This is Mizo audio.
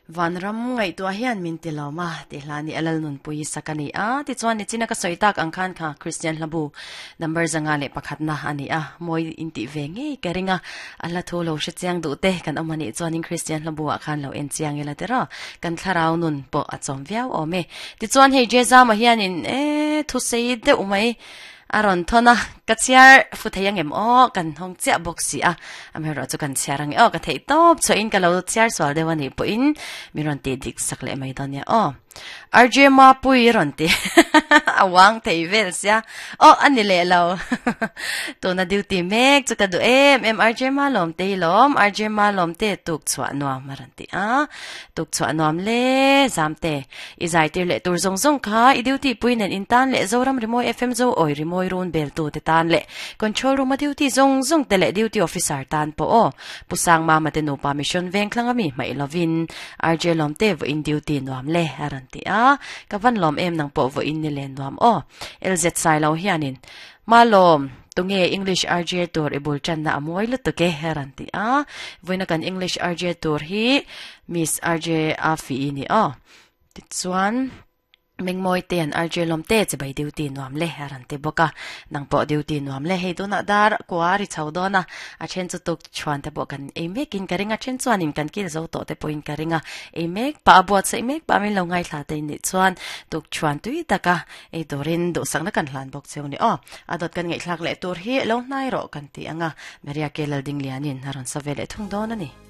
Vanram ngaihtuah hian min ti lawm a, tih hla ni a Lalnunpui sak a ni a. Tichuan nichina ka sawi tak ang khan kha Kristian hlabu number 501 na a ni a, mawi intih ve ngei ka ring a, a hla thu lo hre chiang duh te kan awm a nih chuanin Kristian hlabu ah khan lo en chiang ila tiraw, kan thlarau nun pawh a chawm viau awm e. Tichuan hei Jezama hianin e thusei deuh mai A rawn thawn a, ka chhiar fu thei angem aw, kan hawng chiah bawk si a, amaherawh chu kan chhiar ange aw, ka theih tawp chhuahin ka lo chhiar sual deuh a nih pawhin min rawn tih dik sak leh mai dawn nia aw. RJ Mapui rawn ti a uang thei vel sia aw a ni leh lo tuna duty mek chu ka duh em em RJ Malawm te hi lawm RJ Malawm te tuk chhuah nuam a rawn ti a, tuk chhuah nuam le zam te. I zaitir leh tur zawng zawng kha i duty pui nen in tan leh Zoram Rimawi FM Zo Awi Rimawi run bel tu te tan leh Control room a duty zawng zawng te leh duty officer tan pawh aw. Pu Sangmama te nupa mission veng thlang ami hmaih lovin RJ Lawmte vawiin duty nuam le a rawn ti a. Ka van lawm em nang pawh vawiin ni len nuam aw. LZ Sailo hianin Malawm, tunge English RJ tur i bul tanna a mawi lutuk e a rawn ti a. Vawiina kan English RJ tur hi Miss RJ Afi i ni aw. Tichuan, Mengmawi te an RJ lawm te chibai duty nuam le a rawn ti bawk a. Nang pawh duty nuam le hei tunah dar kua ri chho dawn a, a then chu tuk chhuan te pawh kan ei mekin ka ring a, then chuanin kan kil zo tawh te pawhin ka ring a. Ei mek pah a buatsaih mek pah min lo ngaithla te nih chuan tuk chhuan tui taka Ei turin duhsakna kan hlan bawk cheu ni aw. A dawt kan ngaihthlak leh tur hi lo hnai rawh kan ti ang a, Maria Ke Laldinglianin a rawn sa ve leh thung dawn a ni.